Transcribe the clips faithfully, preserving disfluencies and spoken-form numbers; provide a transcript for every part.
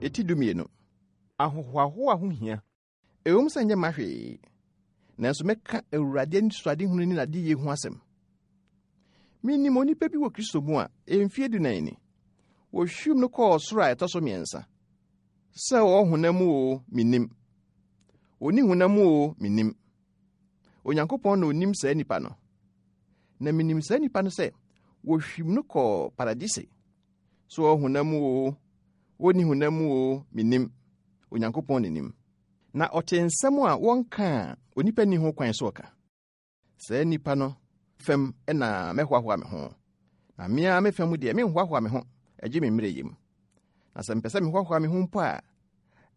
Eti dumienu. Ahohoahoa ho hia. Ɛwom sɛ nyɛ ma hwee, nanso mɛka Awurade anisoadehunu ne n'adeyɛ ho asɛm. Minim onipa bi wɔ Kristo mu a mfie dunan ni. Wohwim no kɔɔ ɔsoro a ɛtɔ so mmiɛnsa. Sɛ ɔwɔ honam mu o, minnim. Onni honam mu o, minnim. Onyankopɔn na onim saa nipa no. Na minim saa nipa no sɛ wohwim no kɔɔ paradise. So ɔwɔ honam mu o, onni honam mu o, minnim. Onyankopɔn na nim. Na ɔte nsɛm a wɔnka a onipa nni ho kwan so ɔka. Saa nipa no fam na mɛhoahoa me ho. Na me ara me fam deɛ menhoahoa me ho, agye me mmerɛ yam. Na sɛ mpɛ sɛ mehoahoa me ho mpo a,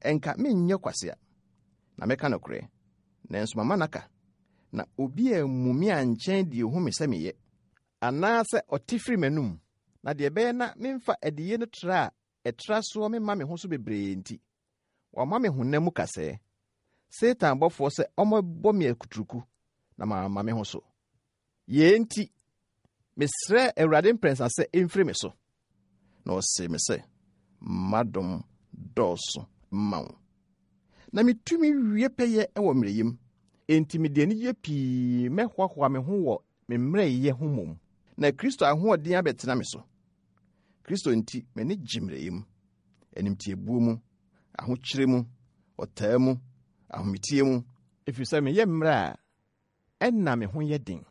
ɛnka menyɛ kwasea. Na mɛka nokorɛ. Nanso mama naka. Na obi ammu me ankyɛn deɛ ohu me sɛ meyɛ. Anaasɛ ɔte firi m'anom. Na deɛ ɛbɛyɛ na memfa adiyie no tra a ɛtra soɔ memma me ho so bebree nti, wama me honam mu kasɛɛ. Satan bɔfoɔ sɛ ɔmmɛbɔ me akuturuku na mamma me ho so. Yei nti, mesrɛ Awurade mprɛnsa sɛ ɛmfiri me so. Na ɔsee me sɛ, m'adom dɔɔso ma wo. Na metumi wie pɛyɛ wɔ mmerɛyɛ mu. Enti mede anigye pii mɛhoahoa me ho wɔ me mmerɛyɛ ho mmom. Na Kristo ahoɔden abɛtena me so. Kristo nti m'ani gye mmerɛyɛ mu, animtiabuo mu, ahokyere mu, ɔtaa mu, ahometie mu, ɛfiri sɛ meyɛ mmerɛ a ɛnna me ho yɛ den.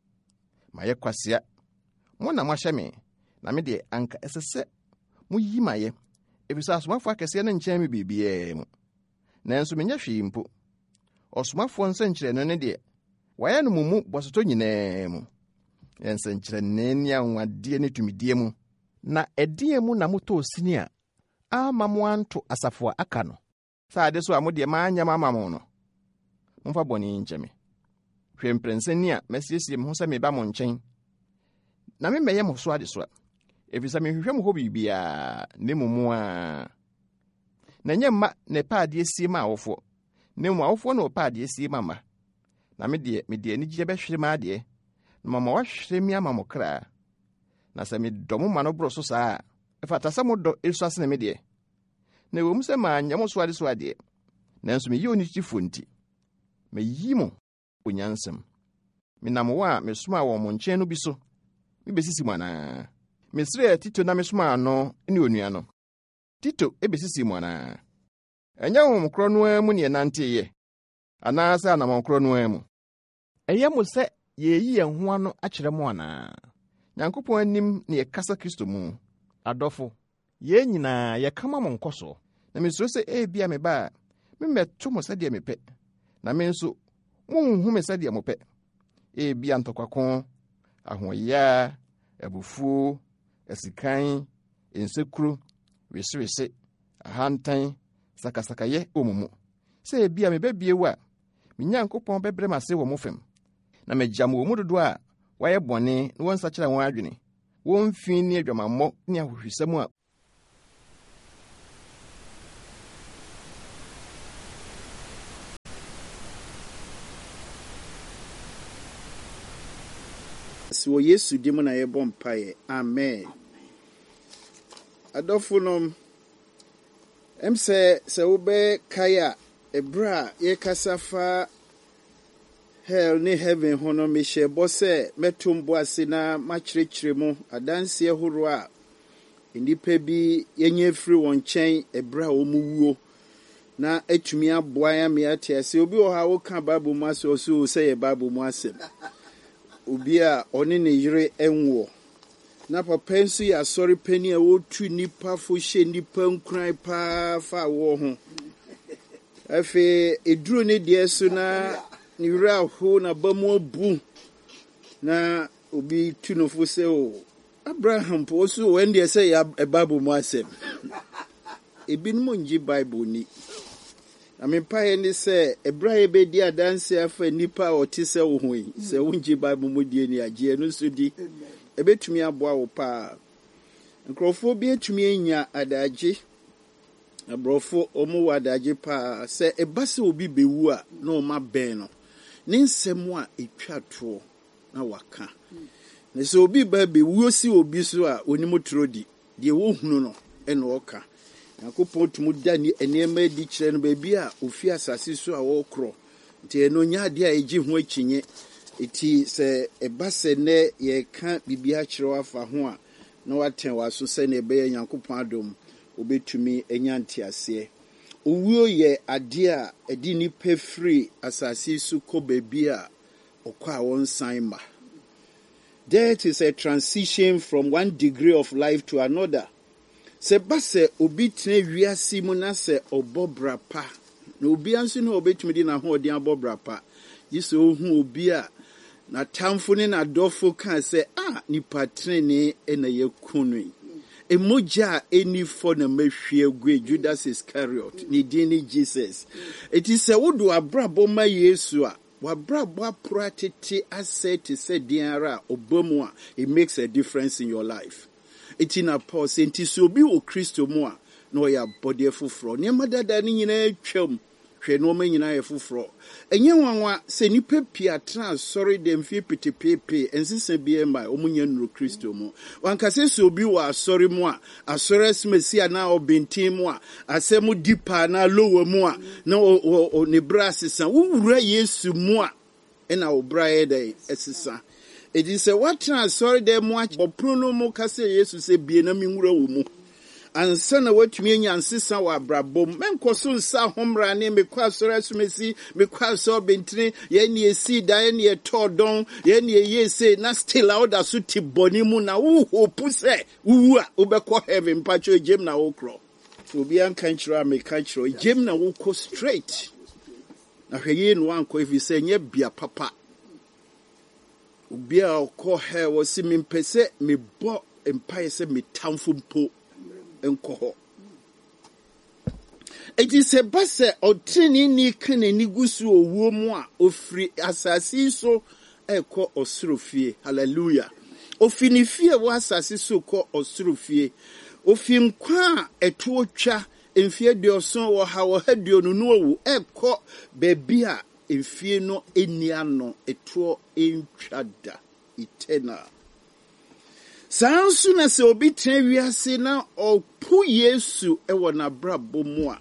Mayɛ kwasea. Mo na moahyɛ me, na me deɛ anka ɛsɛ sɛ moyi mayɛ, ɛfiri sɛ asomafoɔ akɛseɛ no nkyɛn me biribiara mu. Nanso menyɛ hwee mpo. Ɔsomafoɔ nsɛnkyerɛnne no deɛ, wɔayɛ no mo mu bɔsotɔ nyinaa mu. Nsɛnkyerɛnne ne anwanwadeɛ ne tumidie mu. Na ɛdeɛn mu na motɔɔ sini a amma mo anto asafo a aka no? Sɛ ade so a mo deɛ manyɛ ama mo no, momfa bɔne yi nkyɛ me. Hwɛ mprɛnsa ni a masiesie me ho sɛ meba mo nkyɛn. Na memmɛyɛ mo so adesoa, ɛfiri sɛ menhwehwɛ mo hɔ biribiara, na mmom mo ara. Na ɛnyɛ mma na ɛpɛ adeɛ sie ma awofoɔ, na mmom awofoɔ na wɔpɛ adeɛ sie ma mma. Na me deɛ, mede anigyeɛ bɛhwere m'adeɛ, na mama wɔahwere me ama mo kra. Na sɛ medɔ mo ma no boro so saa a, ɛfata sɛ modɔ esua sene me deɛ. Na ɛwɔ mu sɛ manyɛ mo so adesoa deɛ, nanso meyɛ onitefoɔ nti, mayi mo onyansam. Menam wɔn a mesomaa wɔn mo nkyɛn no bi so mebesisi mo anaa? Mesrɛɛ Tito na mesomaa no ne onua no. Tito ebesisi mo anaa? Ɛnyɛ honhom korɔ no ara mu ne yɛnanteeɛ, anaasɛ anammɔn korɔ no ara mu? Ɛyɛ mo sɛ yɛreyi yɛn ho ano akyerɛ mo anaa? Nyankopɔn anim ne yɛkasa Kristo mu. Adɔfo, yɛn nyinaa yɛka ma mo nkɔsoɔ. Na mesuro sɛ ebia meba a, memmɛto mo sɛdeɛ mepɛ, na me nso monhu me sɛdeɛ mopɛ. Ebia ntɔkwako, ahoɔyaa, abufuo, asikan, nsekuro, wesewese, ahantan, sakasakayɛ wɔ mo mu. Sɛ ebia meba bio a, me Nyankopɔn bɛbrɛ me ase wɔ mo fam, na magya mo wɔ mu dodoɔ a wɔayɛ bɔne na wɔnsakyera wɔn adwene, wɔn fi ne adwamammɔ ne ahohwisɛm a Wɔ Yesu din mu na yɛbɔ mpaeɛ. Amen. Adɔfonom, ɛm sɛ sɛ wobɛkae a, ɛberɛ a yɛkasa fa hell ne heaven ho no, mehyɛ bɔ sɛ mɛto mbo ase na makyerɛkyerɛ mu adanseɛ horoɔ a nnipa bi yɛnyɛ firi wɔn nkyɛn ɛberɛ a wɔn wuo na atumi aboa yɛn ama yɛate ase. Obi wɔ hɔ a woka Bible mu asɛm, ɔse o sɛ yɛ Bible mu asɛm. Obi a ɔne ne yere nwoɔ. Na papa nso yɛ asɔre panin a wɔtu nnipa fo hyɛ nnipa nkuran paa fa awoɔ ho. Afei, eduru ne deɛ so na ne werɛ aho n'aba mu abu. Na obi tu no fo sɛ o, Abraham po ɔso o, ɛn deɛ sɛ yɛ Bible mu asɛm. Ebinom ngye Bible ni. Na me mpaeɛ ne sɛ, ɛberɛ a yɛbɛdi adanse afa nnipa a ɔte sɛ wo ho yi, sɛ wongye Bible mu die ni agye ɛno nso di. Ɛbɛtumi aboa wo paa. Nkurɔfoɔ bi atumi anya adagye. Aborɔfo, wɔn wɔ adagye paa. Sɛ ɛba sɛ obi bɛwu a, na wɔn abɛn no. Ne nsɛm a ɛtwa toɔ na waka. Na sɛ obi ba bɛwuo si obi so a, onim toro di. Deɛ wɔhunu no ɛna ɔka. Nyankopɔn tumi da nneɛma adi kyerɛ no baabi a ofi asase so a wɔrekorɔ. Nti ɛno nyɛ adeɛ a ɛgye ho akyinnye. Eti sɛ ɛba sɛ nnɛ yɛreka biribi akyerɛ wo afa ho a, na watɛn w'aso sɛnea ɛbɛyɛ Nyankopɔn adom wobɛtumi anya nteaseɛ. Owuo yɛ adeɛ a ɛde nnipa firi asase so kɔ baabi a ɔkɔ a wɔnsan ma. Death is a transition from one degree of life to another. Sɛ ba sɛ obi tena wiase mu na sɛ ɔbɔ bra pa, na obiara nso ne ɔbɛtumi de n'ahoɔden abɔ bra pa, gye sɛ ohu obi a n'atamfo ne n'adɔfo kaa sɛ, a nipa tenenee na yɛku no yi. Emogya a ɛni fɔ na mahwie agu Judas Iscariot, ne din ne Jesus. Eti sɛ wode w'abrabɔ ma Yesu a, w'abrabɔ aporo atete asɛe te sɛ den ara a ɔba mu a, it makes a difference in your life. Eti na Paul sɛ, nti sɛ obi wɔ Kristo mu a, na ɔyɛ abɔdeɛ foforɔ. Nneɛma dada no nyinaa twam. Hwɛ, nneɛma nyinaa yɛ foforɔ. Ɛnyɛ nwanwa sɛ nnipa pii atena asɔre dɛm mfie petepeepee nsesa biara ma wɔn nyɛ nnuro Kristo mu. Wankasa sɛ obi wɔ asɔre mu a, asɔre asomasi anaa ɔbɛnten mu a, asɛm di pa anaa lower mu a, na ne bra asesa. Wowura Yesu mu a, ɛna wo bra yɛ dɛn ɛsesa. Eti sɛ woatena asɔre dɛm mu abɔ pono no mu ka sɛ Yesu sɛ bie na menwura wo mu. Ansa na woatumi anya nsesa wɔ abrabɔ mu, mɛnkɔ so nsa ahommra ne mekɔ asɔre asomasi, mekɔ asɔre bɛntini, yɛn ne yɛsii da, yɛn ne yɛtɔɔ dɔn, yɛn ne yɛyɛ sei, na still a woda so te bɔne mu na wohope sɛ wowu a wobɛkɔ heaven. Mpakyɛ, gyem na wokorɔ. Obiara nka nkyerɛ a meka kyerɛ, gyem na wokɔ straight. Na hwɛ yie na woankɔ, ɛfiri sɛ ɛnyɛ bea papa. Obi a ɔkɔ hell wɔ se mempɛ sɛ mebɔ mpaeɛ sɛ metamfo mpo nkɔ hɔ. Eti sɛ ba sɛ ɔteneneeni ka n'ani gu so owuo mu a, ofiri asase yi so ɛkɔ ɔsoro fie. Hallelujah. Ofi ne fie wɔ asase so kɔ ɔsoro fie. Ofi nkwa a ɛtoɔ twa mfie aduɔson wɔ ha wɔ ha aduonu no owu ɛkɔ baabi a mfie no ani ano ɛtoɔ ntwa da, eternal. Saa nso na sɛ obi tena wiase na ɔpo Yesu wɔ n'abrabɔ mu a,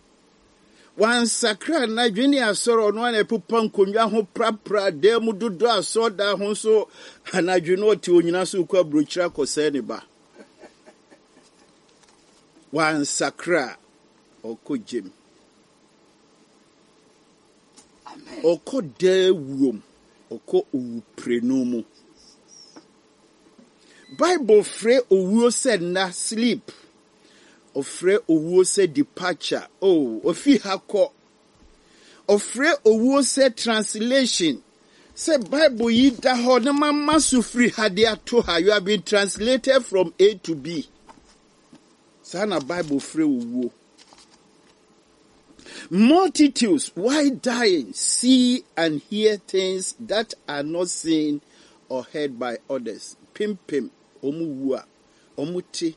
wansakra n'adwene ne asɔre, ɔno ana ɛpopa nkonnwa ho prapra dan mu dodo asɔredan ho nso anadwo no ɔte onyina so kɔ aburokyire akɔsɛe ne ba. Wansakra, ɔkɔ gyem. Ɔkɔ daa wuom, ɔkɔ owuprenu mu. Bible frɛ owuo sɛ nna, sleep. Ɔfrɛ owuo sɛ departure. Oh, ofi ha kɔ. Ɔfrɛ owuo sɛ translation. Sɛ Bible yi da hɔ na mama so firi ha de ato ha. You have been translated from A to B. Saa na Bible frɛ owuo. Multitudes, while dying, see and hear things that are not seen or heard by others. Pimpim, ɔmo wu a, ɔmo te,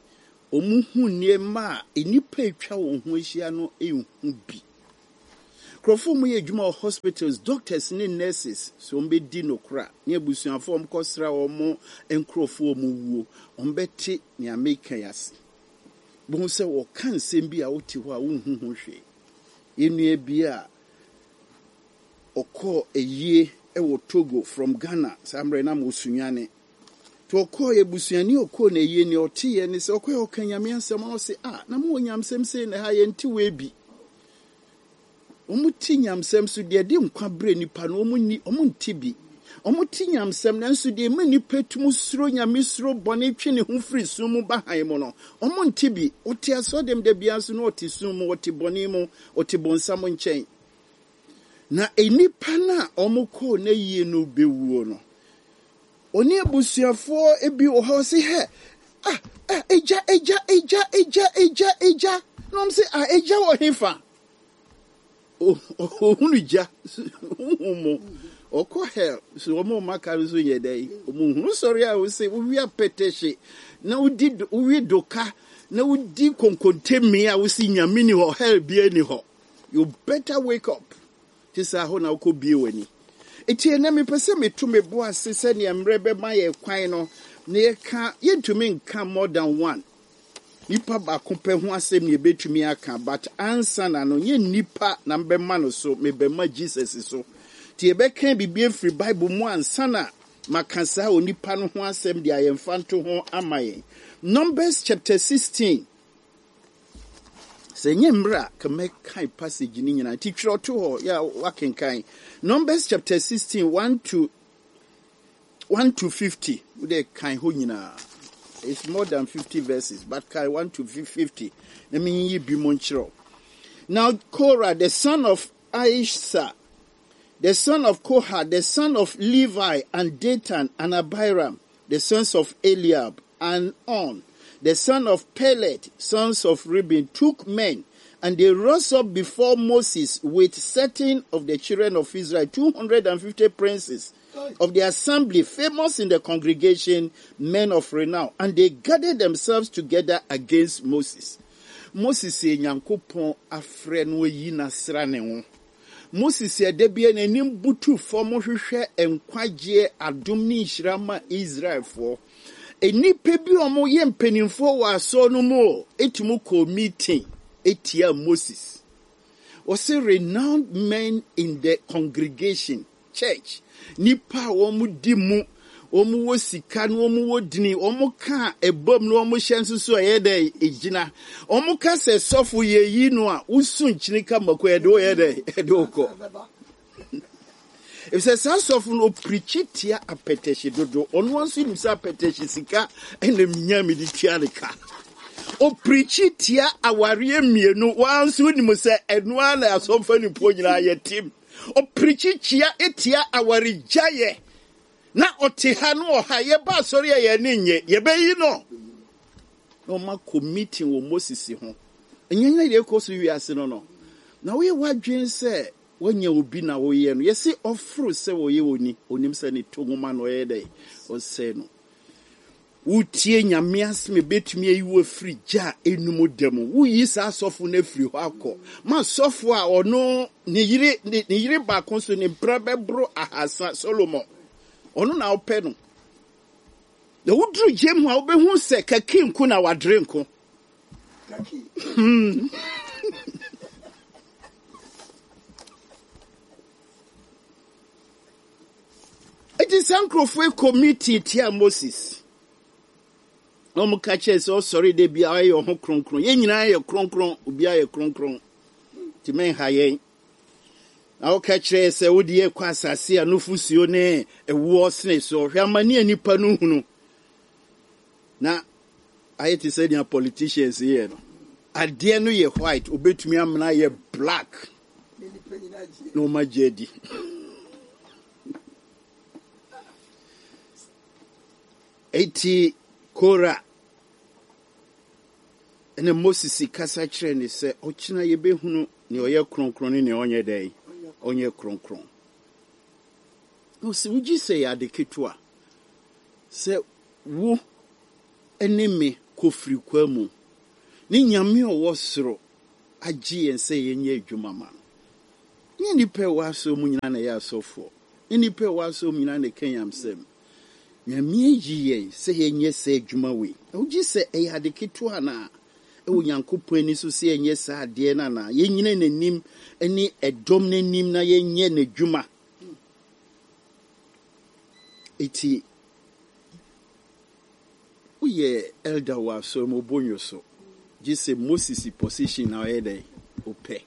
ɔmo hu nneɛma a nnipa atwa wɔn ho ahyia no nhu bi. Nkurɔfoɔ mu yɛ adwuma wɔ hospitals, doctors ne nurses, so wɔn bɛdi nokora ne abusuafoɔ wɔn kɔsra wɔn nkurɔfoɔ wɔn wuo, wɔn bɛte nea meka yi ase. Bohu sɛ wɔka nsɛm bi a wote hɔ a wonhu ho hwee. Yɛn bi a ɔkɔɔ ayie wɔ Togo from Ghana, saa mmerɛ na mo Sunyani. Nti ɔkɔɔ abusuani ɔkɔɔ n'ayie nea ɔteeɛ ne sɛ ɔkɔɛ ɔka Nyame asɛm na ɔse, ah, na mowɔ nyamsɛm sei na ha yɛnte wei bi. Wɔn te nyamsɛm so deɛ de nkwa brɛ nipa no, wɔn ni, wɔn nte bi. Wɔn te nyamsɛm nanso deɛ ɛma nipa tum suro Nyame, suro bɔne, twe ne ho firi sum mu ba han mu no, wɔn nte bi. Ɔte asɔdɛm da biara nso na ɔte sum mu, ɔte bɔne mu, ɔte bonsam nkyɛn. Na nnipa no a wɔn kɔɔ n'ayie no bɛwuo no, ɔne abusuafoɔ bi wɔ hɔ sɛ, hɛ, ah, ah, egya, egya, egya, egya, egya, egya. Na wɔn sɛ, ah, egya wɔ hefa? Ohunu gya, huhu mu. Ɔkɔ hell, so wɔn a wɔaka no nso yɛ dɛ. Wɔn hunu sɔre a wɔsɛ wowi apɛtɛhye, na wodi wowi doka, na wodi konkontemi a wosi Nyame ni hɔ, hell bia ni hɔ. You better wake up. Te sɛ ahɔ na wokɔ bie w'ani. Eti ɛnɛ mepɛ sɛ meto me bo ase sɛnea mmerɛ bɛma yɛ kwan no, na yɛka yɛntumi nka more than one. Nipa baako pɛ ho asɛm na yɛbɛtumi aka, but ansa na no, nyɛ nipa na mbɛma no so, mebɛma Jesus so. Nti yɛbɛka biribi afiri Bible mu ansa na maka saa onipa no ho asɛm de ayɛmfa nto ho ama yɛn. Numbers chapter sixteen. Sɛ nyɛ mmerɛ a, ka mɛkan passage no nyinaa. Nti twerɛ to hɔ, yɛ wakenkan. Numbers chapter sixteen, one to one to fifty. Wode kan hɔ nyinaa. It's more than fifty verses, but kan one to fifty. Na menyiyi bi mu nkyerɛw. Now Korah, the son of Aisha, the son of Kohath, the son of Levi, and Dathan and Abiram, the sons of Eliab, and On, the son of Pelet, sons of Reuben, took men, and they rose up before Moses with certain of the children of Israel, two hundred and fifty princes of the assembly, famous in the congregation, men of renown, and they gathered themselves together against Moses. Moses yɛ Nyankopɔn afrɛ no ayi n'asra ne ho. Moses yɛ da bi n'anim butu fam hwehwɛ nkwagyeɛ adom ne nhyira ma Israelfoɔ. Nnipa bi a wɔyɛ mpanimfoɔ wɔ asɔre no mu o, etumi kɔ meeting etia Moses. Wɔsi renowned men in the congregation, church. Nipa a wɔn di mu, wɔn wɔ sika na wɔn wɔ dini, wɔn ka ɛbom na wɔn hyɛ nso so ɛyɛ dɛ egyina. Wɔn ka sɛ sɔfo yɛ yi no a, wosu nkyini ka mako ɛde wɔyɛ dɛ ɛde wɔkɔ. Efisɛ saa sɔfo no opirikyi tia apɛtɛhye dodo. Ɔno nso nim sɛ apɛtɛhye sika ɛna nya mi de tua ne ka. Opirikyi tia awareɛ mmienu, wɔn nso nim sɛ ɛnoa na asɔfo nipo nyinaa yɛ tim. Opirikyi tia etia awaregyaeɛ. Na ɔte ha no ɔha yɛba asɔre a yɛne nye yɛbɛyi no. Na ɔma kɔ meeting wɔ Moses ho. Ɛnyɛ nyɛ deɛ ɛkɔ so wiase no no. Na woyɛ w'adwene sɛ woanya obi na woyɛ no. Yɛse ɔforo sɛ wɔyɛ oni, onim sɛ ne to nwoma na ɔyɛ dɛ ɔsɛe no. Wotie Nyame asɛm ebetumi ayi wo afiri gya a enum da mu. Woyi saa asɔfo no afiri hɔ akɔ. Ma asɔfo a ɔno ne yere ne ne yere baako so ne mpra bɛboro ahasa Solomon. Ɔno na ɔpɛ no. Na woduru gyem hɔ a wobɛhu sɛ kaki nko na wadere nko. Hmm. Eti saa nkurɔfoɔ yi kɔ meeting tia Moses. Na wɔn ka kyerɛ sɛ ɔsɔre de bi a ɔyɛ ɔho kronkron. Yɛn nyinaa yɛ kronkron, obiara yɛ kronkron. Nti mɛnha yɛn. Na wɔka kyerɛ sɛ wode yɛ kɔ asase a nufusuo ne ɛwoɔ sene so. Hwɛ amane a nipa no hunu. Na ayɛ te sɛ nea politicians yɛ no. Adeɛ no yɛ white, obetumi amena yɛ black. Na wɔn agye adi. Eti Kora ɛna Moses kasa kyerɛ ne sɛ ɔkyena yɛbɛhunu nea ɔyɛ kronkron ne nea ɔnyɛ dɛn ɔnyɛ kronkron. Na ɔsɛ wogye sɛ yɛ ade ketewa sɛ wo ne me kɔfiri kwa mu ne Nyame a ɔwɔ soro agye yɛn sɛ yɛnyɛ adwuma ma no. Nyɛ nnipa a ɛwɔ asɔre mu nyinaa na ɛyɛ asɔfoɔ. Nyɛ nnipa a ɛwɔ asɔre mu nyinaa na ɛka nyamsɛm. Nyame ayi yɛn sɛ yɛnyɛ sɛ adwuma wei. Na wogye sɛ ɛyɛ ade ketewa anaa? Ɛwɔ Nyankopɔn ani so sɛ yɛnyɛ saa adeɛ no anaa? Yɛnyina n'anim ne ɛdɔm n'anim na yɛnyɛ n'adwuma. Eti woyɛ elder wɔ asɔre mu obonyo so. Gye sɛ Moses position na ɔyɛ dɛ wopɛ.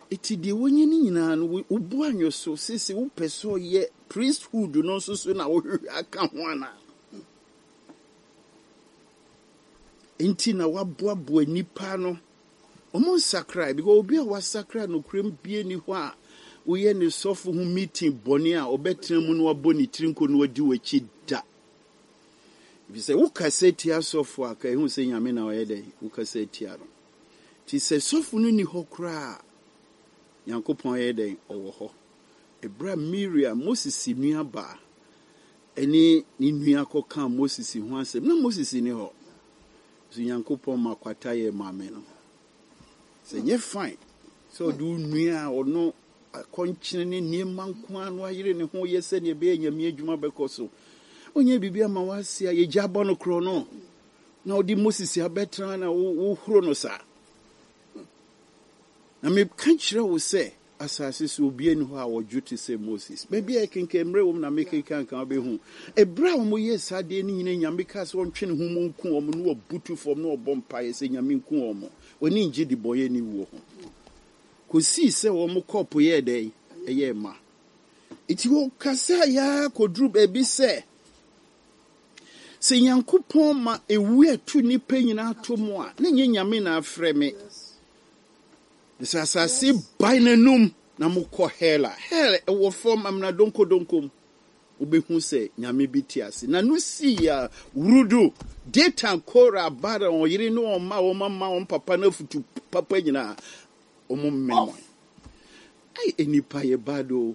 Eti deɛ wɔnyɛ ne nyinaa no wobu anwo so sese wopɛ sɛ ɔyɛ priesthood no nso so na wohwehwɛ aka ho anaa? Nti na waboaboa nipa no. Ɔmo nsakra because obi a wasakra nokorɛm bie ni hɔ a woyɛ ne sɔfo ho meeting bɔne a ɔbɛtena mu na wabɔ ne tiri nko na wadi w'akyi da. Efisɛ wokasa tia sɔfo a ka ehu sɛ Nyame na ɔyɛ dɛ wokasa tia no. Nti sɛ sɔfo no ni hɔ koraa Nyankopɔn yɛ dɛn ɔwɔ hɔ. Ebra Miriam, Moses nua baa ɛne ne nua kɔkaa Moses ho asɛm na Moses ni hɔ. So Nyankopɔn ma kwata yɛ maame no. Sɛ nyɛ fine sɛ ɔde wo nua a ɔno akɔnkyene ne nneɛma nko ara no ayere ne ho yɛ sɛnea ɛbɛyɛ Nyame adwuma bɛkɔ so. Onyɛ biribi ama wase a yɛgya bɔ no korɔ no. Na wode Moses abɛtena na wohoro no saa. Na meka kyerɛ wo sɛ asase so obi ani hɔ a wɔdwo te sɛ Moses. Baabi a yɛkenkan mmerɛ wɔ mu na mekenkan ka wobɛhu. Ɛberɛ a wɔyɛɛ saa adeɛ no nyinaa, Nyame kaa sɛ ɔntwe ne ho mu nku wɔn na wɔbutu fam na wɔbɔ mpaeɛ sɛ Nyame nku wɔn. Wɔne ngye de bɔyɛ ne wuo ho. Kɔsii sɛ wɔn kɔɔpo yɛɛ dɛn? Ɛyɛɛ ma. Nti wɔkasa yaa kɔduru baabi sɛ sɛ Nyankopɔn ma ewu ɛto nnipa nyinaa to mu a, na nyɛ Nyame na afrɛ me. Sɛ asase bae n'anum na mokɔ hell a, hell ɛwɔ fam amena donkodonkom. Wobɛhu sɛ Nyame bi te ase. Na no sii a wurudu Datan, Kora, Abiram, ɔyere ne wɔn mma, wɔn mama, wɔn papa no afutu papa nyinaa, wɔn mmemmɔn. Ai, nnipa yɛ bad o.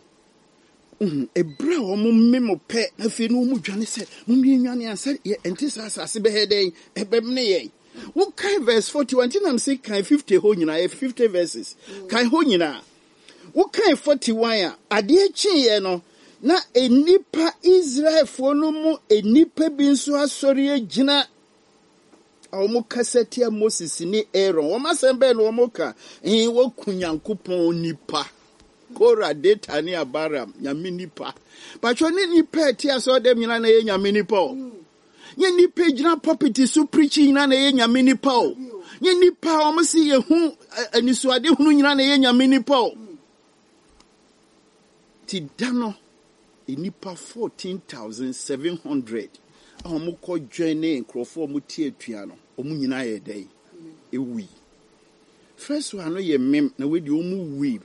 Uhu, ɛberɛ a wɔn mmem pɛ, na afei no wɔn dwane sɛ, mommie nwane ansa yɛ ɛnte saa asase bɛyɛ dɛn, ɛbɛmene yɛn. Wokan verse forty-one, nti nam sɛ kan fifty hɔ nyinaa, yɛ fifty verses. Kan hɔ nyinaa. Wokan forty-one a, adeɛ kyeeɛ no, na nnipa Israelfoɔ no mu nnipa bi nso asɔre agyina a wɔn kasa tia Moses ne Aaron. Wɔn asɛm bɛn na wɔn ka? Ɛn, wɔku Nyankopɔn nipa. Kora, Datan ne Abiram, Nyame nipa. Patro ne nipa a ɛte asɔre dɛm nyinaa na ɛyɛ Nyame nipa o. Nye nipa gyina pulpit so preaching nyinaa na ɛyɛ Nyame nipa o. Nye nipa a wɔn si yɛ hu anisoade hunu nyinaa na ɛyɛ Nyame nipa o. Ti da no, nipa fourteen thousand seven hundred a wɔn kɔ join ne nkurɔfoɔ a wɔn te atua no, wɔn nyinaa yɛ dɛn? Ewui. First one no yɛ mem na wei deɛ wɔn wui.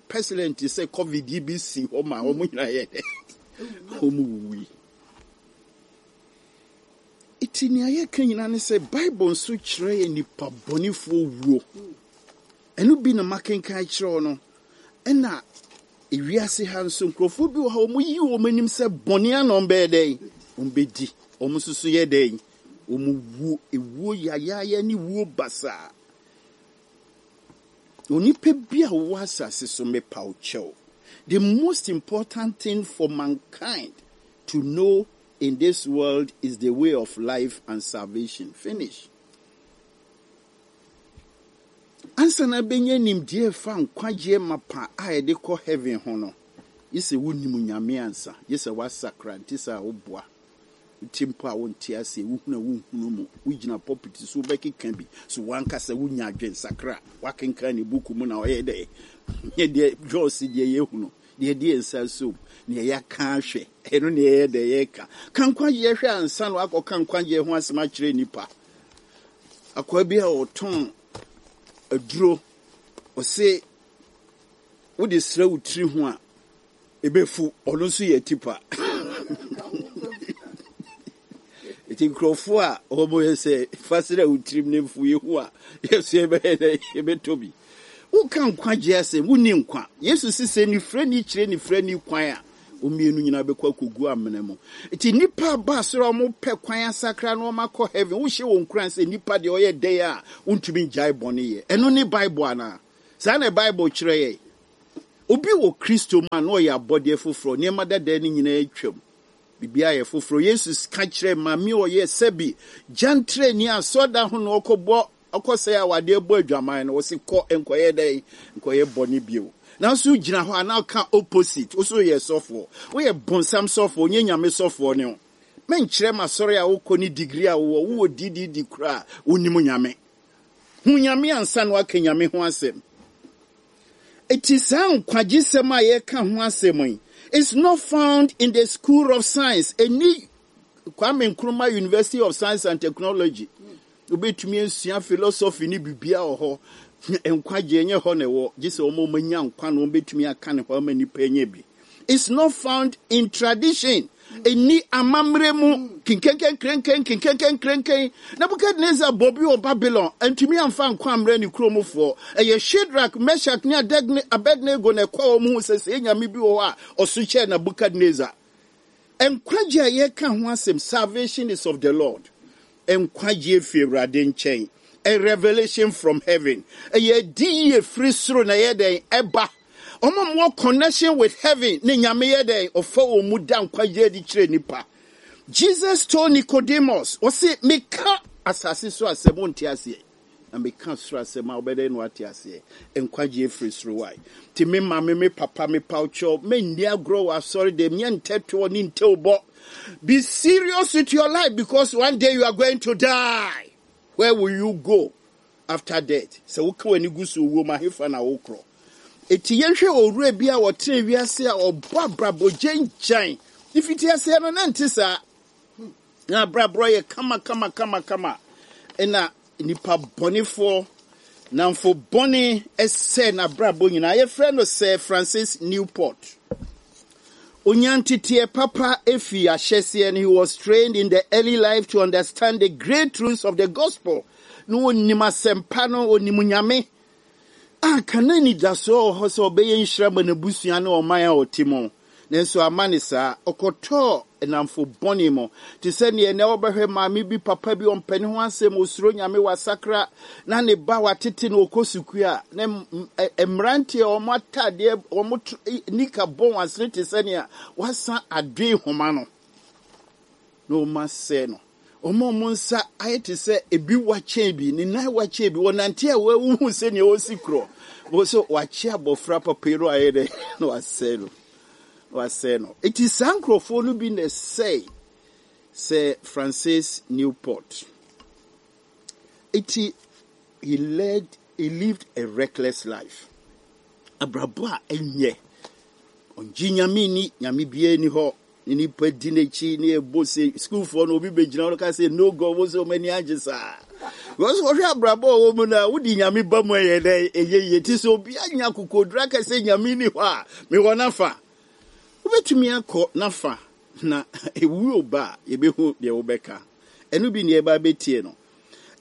Pestilence sɛ COVID yi bi si hɔ ma wɔn nyinaa yɛ dɛn? Wɔn wui. Eti nea yɛka nyinaa ne sɛ Bible nso kyerɛ yɛ nipa bɔnefoɔ wuo. Ɛno bi na makenkan kyerɛ wo no. Ɛna ewiase ha nso nkurɔfoɔ bi wɔ ha wɔn yi wɔn anim sɛ bɔne ano wɔn bɛyɛ dɛn? Wɔn bɛdi. Wɔn nso so yɛ dɛn? Wɔn wuo. Ewuo yayaaya ne wuo basaa. Onipa bi a wɔwɔ asase so mepa wo kyɛw. The most important thing for mankind to know in this world is the way of life and salvation. Finish. Ansa na bɛnya nimdeɛ fa nkwagyeɛ mapa a yɛde kɔ heaven ho no, gye sɛ wonim Nyame ansa, gye sɛ woasakra nti sɛ a woboa. Wote mpo a wonte ase, wohunu a wonhunu mu, wogyina pulpit so wobɛkeka bi, so wankasa wonya adwensakra, woakenkan ne buku mu na ɔyɛ dɛ. Nyɛ deɛ Jos deɛ yɛhunu, deɛ deɛ nsa som, deɛ yɛaka ahwɛ, ɛno ne yɛyɛ dɛ yɛka. Ka nkwagyeɛ hwɛ ansa na wakɔka nkwagyeɛ ho asɛm akyerɛ nnipa. Akoa bi a ɔtɔn aduro, ɔse wode srɛ wo tiri ho a, ɛbɛfu, ɔno nso yɛ tipa. Eti nkurɔfoɔ a wɔn yɛ sɛ fa srɛ wo tirim ne mfu yi ho a, yɛsɛ yɛbɛyɛ dɛ yɛbɛtɔ bi. Woka nkwagyeɛ asɛm, wonni nkwa. Yesu si sɛ nifirani kyerɛ nifirani kwan a, wɔn mmienu nyinaa bɛkɔ akɔgu amena mu. Eti nnipa aba soro a wɔpɛ kwan asakra na wɔn akɔ heaven, wohyɛ wɔn nkuran sɛ nnipa deɛ ɔyɛ dɛn a, wontumi ngyae bɔne yɛ. Ɛno ne Bible anaa? Saa na Bible kyerɛ yɛn. Obi wɔ Kristo mu a na ɔyɛ abɔdeɛ foforɔ, nneɛma dada no nyinaa atwam. Biribiara yɛ foforɔ. Yesu ka kyerɛ maame a ɔyɛ sɛbi gyantrani asɔda ho na ɔkɔbɔ ɔkɔsɛe awadeɛ bɔ adwaman no, wɔsi kɔ nkɔyɛ dɛn? Nkɔyɛ bɔne bio. Nanso gyina hɔ a na ɔka opposite. Wo so yɛ sɔfoɔ. Woyɛ bonsam sɔfoɔ, nyɛ Nyame sɔfoɔ ne wo. Menkyerɛ m'asɔre a wokɔ ne degree a wowɔ, wowɔ D D D koraa, wonim Nyame. Hu Nyame ansa na waka Nyame ho asɛm. Eti saa nkwagyesɛm a yɛka ho asɛm yi, it's not found in the school of science. Ɛni Kwame Nkrumah University of Science and Technology. Wobɛtumi asua philosophy ne biribiara wɔ hɔ. Nkwagye ɛnyɛ hɔ na ɛwɔ. Gye sɛ wɔn a wɔanya nkwa na wɔbɛtumi aka ne hɔ ama nnipa anya bi. It's not found in tradition. Ɛni amammerɛ mu. Kinkenken, krenken, kinkenken, krenken. Nebuchadnezzar bɔ bi wɔ Babylon. Ntumi amfa nkwa ammerɛ ne kuromfoɔ. Ɛyɛ Shadrach, Meshach ne Abednego na ɛkɔ wɔn ho sɛ sɛ nyame bi wɔ hɔ a ɔso kyɛɛ Nebuchadnezzar. Nkwagye a yɛka ho asɛm, salvation is of the Lord. Nkwagye fi Awurade nkyɛn. A revelation from heaven. Ɛyɛ di yie firi soro na ɛyɛ dɛn ɛba. Wɔn a wɔwɔ connection with heaven ne Nyame yɛ dɛn ɔfa wɔn mu da nkwagye adi kyerɛ nipa. Jesus told Nicodemus, ɔse meka Asase so asɛm wonte aseɛ, na meka soro asɛm a, wobɛdɛn na wate aseɛ? Nkwagye firi soro wae. Nti me maame, me papa, me pawkyɛw, menni agorɔ wɔ asɔre dɛm, nyɛ ntɛtoɔ ne ntɛwbɔ. Be serious with your life, because one day you are going to die. Where will you go after death? Sɛ woka w'ani gu so owuo mu, ahefa na wokorɔ? Eti yɛnhwɛ owura bi a wɔtene wiase a ɔbɔ abrabɔ gyangyan. Ifiti aseɛ no, na nte saa, na abrabɔ yɛ kama kama kama kama, ɛna nipa bɔnefoɔ namfo bɔne ɛsɛ n'abrabɔ nyinaa. Yɛfrɛ no Sir Francis Newport. Onyanteteɛ papa efi ahyɛseɛ no. He was trained in the early life to understand the great truths of the gospel. Na onim asɛmpa no, onim Nyame a kana anidasoɔ wɔ hɔ sɛ ɔbɛyɛ nhyira ma n'abusua ne ɔman a ɔte mu. Nanso ama ne saa, ɔkɔtɔɔ nnamfo bɔne mu, te sɛ neɛ nɛ wɔbɛhwɛ maame bi, papa bi, ɔmpɛ ne ho asɛm, osuro Nyame, wasakra, na ne ba watete no, ɔkɔ sukuu a, na mmeranteɛ a wɔn atadeɛ, wɔn nika bɔ wɔn asene te sɛ nea wasa adoe homa no, na wɔn asɛe no. Wɔn a wɔn nsa ayɛ te sɛ ebi wakyɛn bi, ne nan wakyɛn bi, wɔnante a wɔahuhu sɛ nea ɔsi korɔ wɔn so wakye abɔfra papa yi no, ayɛ dɛ na wasɛe no, wasɛe no. Eti saa nkurɔfoɔ no bi na ɛsɛe Sir Francis Newport. Eti he led he lived a reckless life, abrabɔ a ɛnyɛ ɔngye Nyame ni, Nyame biara ni hɔ. Ne nipa di n'akyi ne ɛbɔ se sukuufoɔ no, obi bɛgyina hɔ ka sɛ, "No God," wo sɛ ɔmo ani agye saa, because wɔhwɛ abrabɔ a ɔwɔ mu no a, wodi Nyame ba mu, ɛyɛ dɛ ɛyɛ yie. Ti sɛ obi anya akokoduru aka sɛ Nyame ni hɔ a, mewɔ n'afa, wobɛtumi akɔ n'afa na ewuo ba a, yɛbɛhu deɛ wobɛka. Ɛno bi ne yɛba bɛtie no.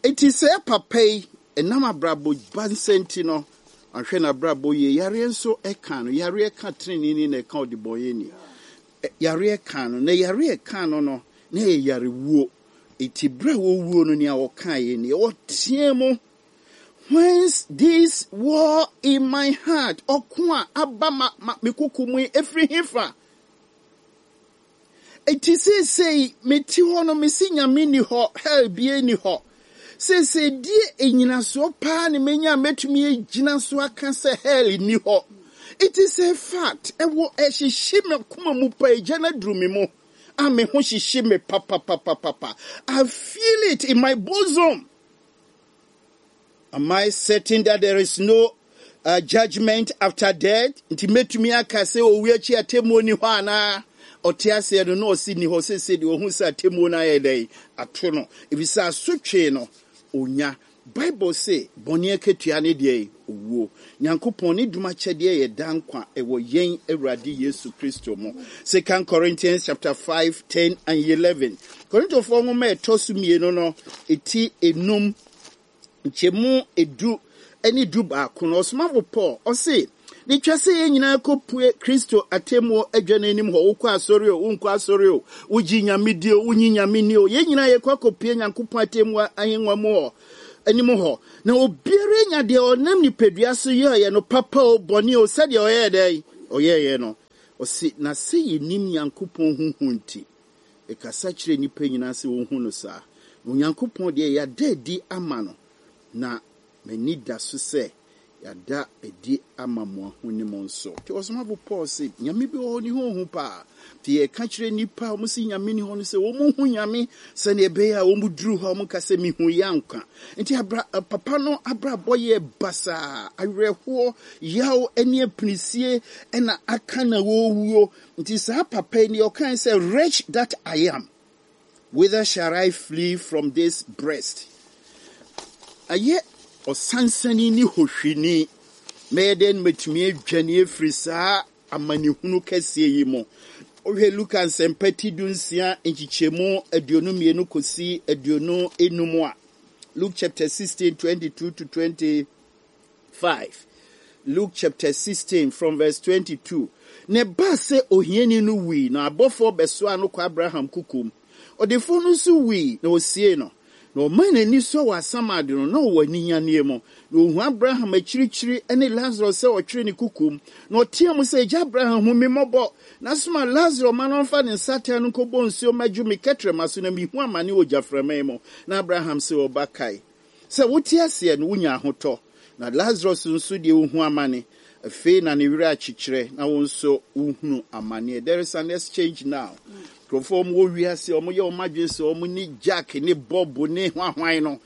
Eti sɛ papa yi ɛnam abrabɔ ba nsɛnti no, ahwɛ n'abrabɔ yie, yareɛ nso ɛka no. Yareɛ ka tenenee na ɛka ɔdebɔnyɛni. Yareɛ ka no, na yareɛ ka no no na yɛ yarewuo. Eti bere a wɔwuo no, nea wɔka yɛ nie, wɔteɛ mu, "Whence this war in my heart?" Ɔko a aba ma ma me koko mu yi, efiri hefa? Eti seesei meti hɔ no, mesi Nyame ni hɔ, hell bie ni hɔ. Seesei die enyinasoɔ paa ne menya a mɛtumi agyina so aka sɛ hell ni hɔ? It is a fact. Ɛwɔ ɛhyehyɛ me koma mu pa, egya no aduru me mu a, me ho hyehye me papapapapa. I feel it in my bosom. Am I certain that there is no uh, judgment after death? Nti mɛtumi aka sɛ owu akyi atemmuo ni hɔ anaa? Ɔte aseɛ no na ɔsi ni hɔ. Sese deɛ ɔhu sɛ atemmuo no ayɛ dɛn ato no, efisɛ asotwe no onya. Bible se bɔne akatua ne deɛ owuo, Nyankopɔn ne dom akyɛdeɛ yɛ da nkwa ɛwɔ yɛn Awurade Yesu Kristo mu. Second Corinthians chapter five, ten and eleven. Korintofoɔ nwoma a ɛtɔ so mmienu no, eti enum, nkyɛmu edu ne du baako no, ɔsomafo Paul ɔse ne twa sɛ yɛn nyinaa kɔpue Kristo atemmuo adwa no anim hɔ. Wokɔ asɔre o, wonkɔ asɔre o, wogye Nyame di o, wonyi Nyame ni o, yɛn nyinaa yɛkɔ akɔpue Nyankopɔn atemmuo ahengua mu hɔ anim hɔ, na obiara nya deɛ ɔnam nipadua so yɛɛyɛ no, papa o, bɔne o, sɛdeɛ ɔyɛɛ dɛn ɔyɛɛyɛ no. Ɔse na sɛ yɛnim Nyankopɔn huhu nti, ɛkasa kyerɛ nnipa nyinaa sɛ wɔhu no saa. Na Onyankopɔn deɛ, yɛada adi ama no, na m'ani da so sɛ yɛada adi ama mo ahonim nso. Nti ɔsomafo Paul se Nyame bi wɔ hɔ, ne ho hu paa. Nti yɛka kyerɛ nnipa a wɔn si Nyame ni hɔ no sɛ wɔn hu Nyame, sɛnea ɛbɛyɛ a wɔn duru hɔ a, wɔn ka sɛ mihu yɛ anka. Nti abra papa no abrabɔ yɛ basaa, awerɛhoɔ, yaw ne apinisie ɛna aka na wɔwuo. Nti saa papa yi deɛ ɔkan sɛ, "Wretch that I am, whither shall I flee from this breast?" Ayɛ ɔsansani ne hohwini, mɛyɛ dɛn na matumi adwane afiri saa amanehunu kɛseɛ yi mu? Wohwɛ Luka Nsɛmpa ti du nsia, nkyekyɛmu aduonu mmienu kɔsi aduonu enum a, Luke chapter sixteen, twenty-two to twenty-five. Luke chapter sixteen from verse twenty-two. Na ɛbaa sɛ ohiani no wui, na abɔfoɔ bɛsoa no kɔ Abraham kukum. Ɔdefoɔ no nso wui, na ɔsie no. Na ɔman n'ani sɔ wɔ asamado no, na ɔwɔ aninyanneɛ mu. Na ohu Abraham akyirikyiri ne Lazaro sɛ ɔtwere ne kukum. Na ɔteɛ mu sɛ, Agya Abraham, hu me mmɔbɔ. Na soma Lazaro ma no ɔmfa ne nsateaa no nkɔbɔ nsuo mmɛdwo me kɛtrɛma so na mehu amane wɔ gyaframa yi mu. Na Abraham sɛ ɔba kae sɛ wote aseɛ no wonya ahotɔ. Na Lazarus nso deɛ ohu amane. Afei na ne werɛ akyekyerɛ na wo nso wohunu amanneɛ. There is an exchange now. Nkurɔfoɔ wɔn wɔ wiase wɔn yɛ wɔn adwene sɛ wɔn ne Jack ne Bob ne hwahwan no.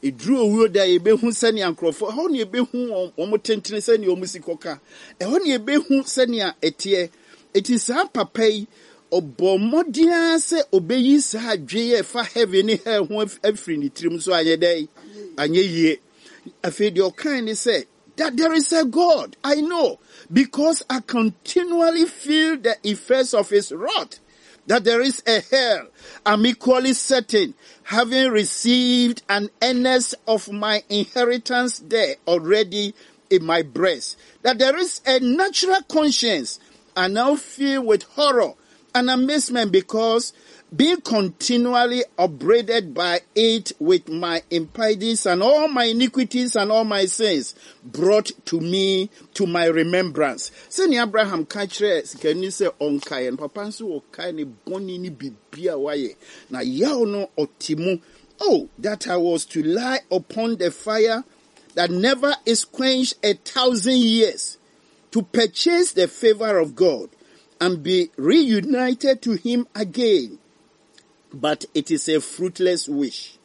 Eduru owuo da yɛbɛhu sɛnea nkurɔfoɔ ɛhɔ na yɛbɛhu wɔn wɔn tentene sɛnea wɔn si kɔka. Ɛhɔ na yɛbɛhu sɛnea ɛteɛ. Eti saa papa yi ɔbɔ mmɔden ara sɛ ɔbɛyi saa adwene a ɛfa heaven ne hell ho afiri ne tirim so anyɛ dɛ anyɛ yie. Afei deɛ ɔkan ne sɛ that there is a God. I know because I continually feel the effects of his wrath. That there is a hell. I'm equally certain, having received an earnest of my inheritance there already in my breast, that there is a natural conscience. I now feel with horror and amazement because being continually upbraided by it with my impieties and all my iniquities and all my sins brought to me to my remembrance. Sɛnea Abraham ka kyerɛ sikani sɛ ɔnkaeɛ no, papa nso ɔkae ne bɔne ne biribi a wayɛ. Na yaw no ɔte mu. Oh, that I was to lie upon the fire that never is quenched a thousand years to purchase the favor of God and be reunited to him again. But it is a fruitless wish,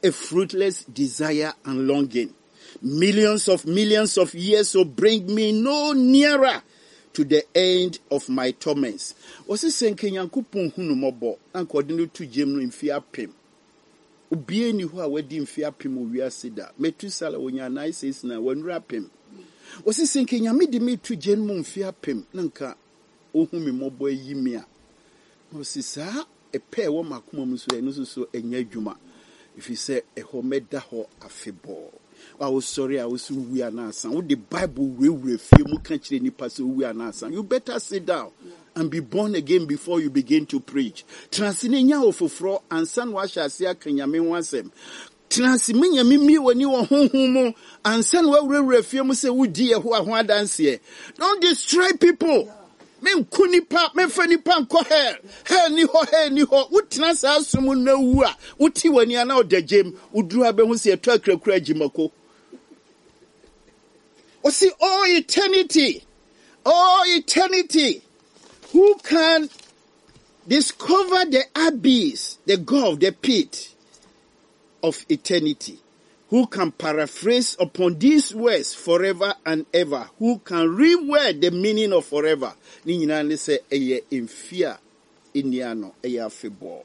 a fruitless desire and longing. Millions of millions of years will bring me no nearer to the end of my torments. Wɔsi sɛ nka Nyankopɔn hu no mmɔbɔ na nka ɔde no to gyem no mfe apem. Obiara ni hɔ a wadi mfe apem wɔ wiase da. Metusala wonya nine six nine wɔnura apem. Wɔsi sɛ nka Nyame de me to gyem mu mfe apem na nka ohu me mmɔbɔ ayi me a. Wɔsi saa ɛpɛ ɛwɔ m'akoma mu so ɛno nso so ɛnyɛ adwuma. Ɛfiri sɛ ɛhɔ mɛda hɔ afebɔɔ. A wosɔre a wosi wu anaasa wode Bible wurawura fie mu ka kyerɛ nipa sɛ owu anaasa. You better sit down and be born again before you begin to preach. Tena ase ne nya wo foforɔ ansa na wahyɛ ase aka Nyame ho asɛm. Tena ase me Nyame mmie w'ani wɔ honhom mu ansa na wawurawura fie mu sɛ wodi Yehowa ho adanseɛ. Don't destroy people. Menku nipa, memfa nipa nkɔ hell. Hell ni hɔ, hell ni hɔ. Wotena saa som na wu a, wote w'ani a na ɔda gyem. Woduru ha bɛhu sɛ yɛtɔ akurakura agyimako. Ɔsi, oh eternity, oh eternity, who can discover the abyss, the gulf, the pit of eternity? Who can paraphrase upon these words forever and ever? Who can reword the meaning of forever? Ne nyinaa ne sɛ ɛyɛ mfe a ɛnni ano, ɛyɛ afebɔɔ.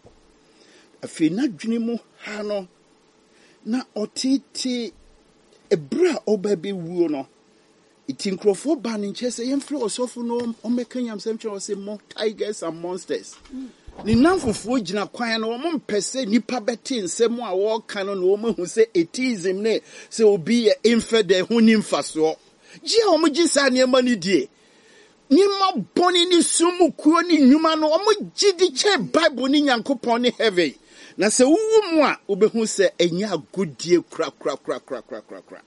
Afei n'adwene mu ha no, na ɔtete ɛberɛ a ɔba bɛwuo no, nti nkurɔfoɔ baa ne nkyɛn sɛ yɛmfrɛ ɔsɔfo no ɔmmɛka nyamsɛm kyerɛ ɔsɛ mo tigers and monsters. Ne namfofoɔ gyina kwan no, wɔn mpɛ sɛ nnipa bɛte nsɛm a wɔreka no na wɔn ahu sɛ atheism ne sɛ obi yɛ infidel ho ni mfasoɔ. Gye a wɔn gye saa nneɛma no die. Nneɛma bɔne ne sum mu kuo ne nnwuma no, wɔn gye di kyɛn Bible ne Nyankopɔn ne heaven. Na sɛ wowu mu a, wobɛhu sɛ ɛnyɛ agodie korakorakorakorakorakora.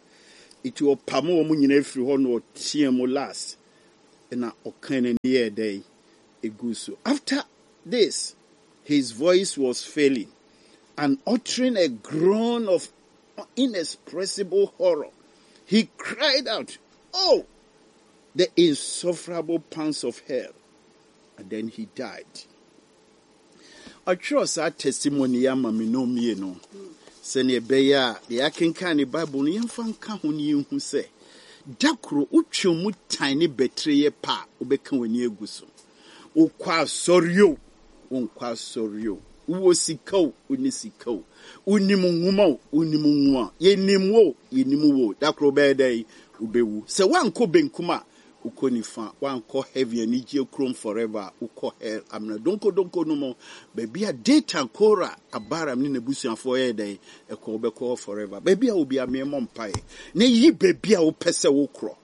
Nti ɔpam wɔn nyinaa firi hɔ na ɔteɛ mu last. Ɛna ɔka n'ani yɛɛ dɛn egu so. After this, his voice was failing and uttering a groan of inexpressible horror, he cried out, Oh, the insufferable pangs of hell. And then he died. Ɔtwerɛ saa testimony yi ama me no mmienu sɛnea ɛbɛyɛ a deɛ yɛakenkan ne Bible no yɛmfa nka ho ne yɛnhu sɛ da koro wotwe mu tan ne bɛtire yɛ pa a wobɛka w'ani agu so. Wokɔ asɔre o, wonkɔ asɔre o, wowɔ sika o, wonni sika o, wonim nwoma o, wonim nwoma, yɛnim wo o, yɛnim wo o, da koro wobɛyɛ dɛn? Wobɛwu. Sɛ woankɔ benkum a, wokɔ nifa, woankɔ heaven anigye kurom forever a, wokɔ hell amena donkodonko no mu, baabi a Datan, Kora, Abiram ne n'abusuafoɔ yɛ dɛn? Ɛkɔ wobɛkɔ hɔ forever. Baabi a obi ameɛ mmɔ mpaeɛ na yi baabi a wopɛ sɛ wokorɔ.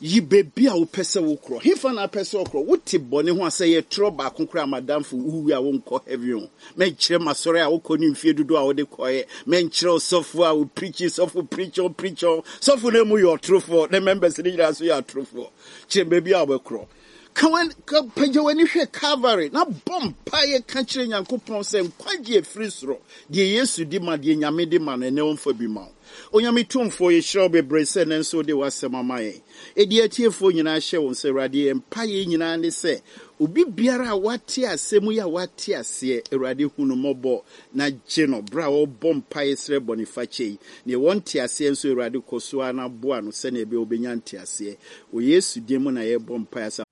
Yi baabi a wopɛ sɛ wokorɔ. Hefa na apɛ sɛ ɔkorɔ? Wote bɔne ho a, sɛ yɛtorɔ baako koraa, madamfo, wowu a wonkɔ heaven o. Mɛnkyerɛ masɔre a wokɔ ne mfie dodoɔ a wode kɔɛ. Mɛnkyerɛ ɔsɔfo a wopreach, sɔfo preach on preach on. Sɔfo no mu yɛ ɔtorofoɔ, ne members no nyinaa nso yɛ atorofoɔ. Kyerɛ baabi a wobɛkorɔ. Ka w'ani, ka, pagya w'ani hwɛ Calvary na bɔ mpaeɛ ka kyerɛ Nyankopɔn sɛ nkwagye efiri soro, deɛ Yesu di ma, deɛ Nyame de ma no, ɛnɛ ɔmfa bi ma wo. Onyame tumfoɔ, yɛhyira wo bebree sɛ ɛnɛ nso wode w'asɛm ama yɛn. Ɛdi atiefoɔ nyinaa hyɛ wɔn sɛ, Awurade, yɛn mpaeɛ nyinaa ne sɛ obi biara a wate asɛm yi a wate aseɛ, Awurade, hu no mmɔbɔ na gye no berɛ a wɔbɔ mpaeɛ srɛ bɔnefakyɛ yi. Neɛ wɔnte aseɛ nso, Awurade, kɔ so ara na boa no sɛnea ɛbɛyɛ wobɛnya nteaseɛ. Wɔ Yesu din mu na yɛbɔ mpaeɛ asa.